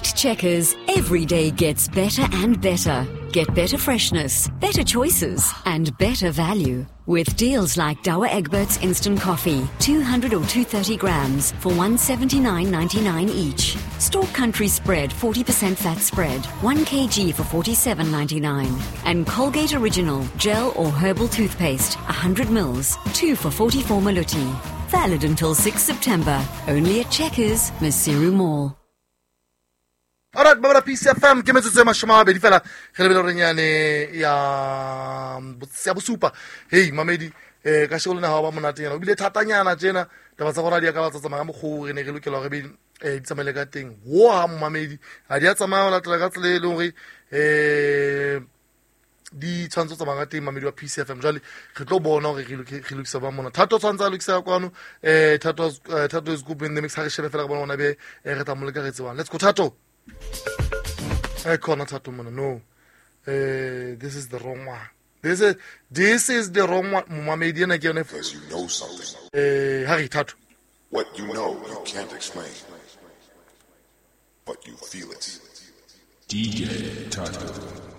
At Checkers, every day gets better and better. Get better freshness, better choices, and better value. With deals like Douwe Egberts Instant Coffee, 200 or 230 grams for 179.99 each. Store Country Spread 40% fat spread, 1 kg for 47.99. And Colgate Original Gel or Herbal Toothpaste, 100 mils, 2 for 44 maluti. Valid until 6 September. Only at Checkers, Maseru Mall. Alright, ba Peace FM ke metsotso e 20 fela re lebele gore nyane ya ya bosupa. Hey mamedi, ka shego lena ha ba monatenyana o bile thatanyana tjena taba tsa gore di ka ba tsa tsamaya ka mokgwa o re ne re lokela gore be di tsamaile ka teng. Wo ha mamedi ha di a tsamaya ho latela ka tsela e leng hore di tshwanetse ho tsamaya ka teng mamedi wa Peace FM. Jwale re tlo bona hore re lokisa ba mona. Thato tshwanetse a lokisa kwano, Thato is good in the mix. Ha re shebe fela re bona hona be re tla mo leka re tsebang. Let's go Thato. Khona Thato mona. No. This is the wrong one. This is the wrong one. Momamedi ena ke yone. Because you know something. Ha re Thato. What you know you can't explain, but you feel it. DJ Thato.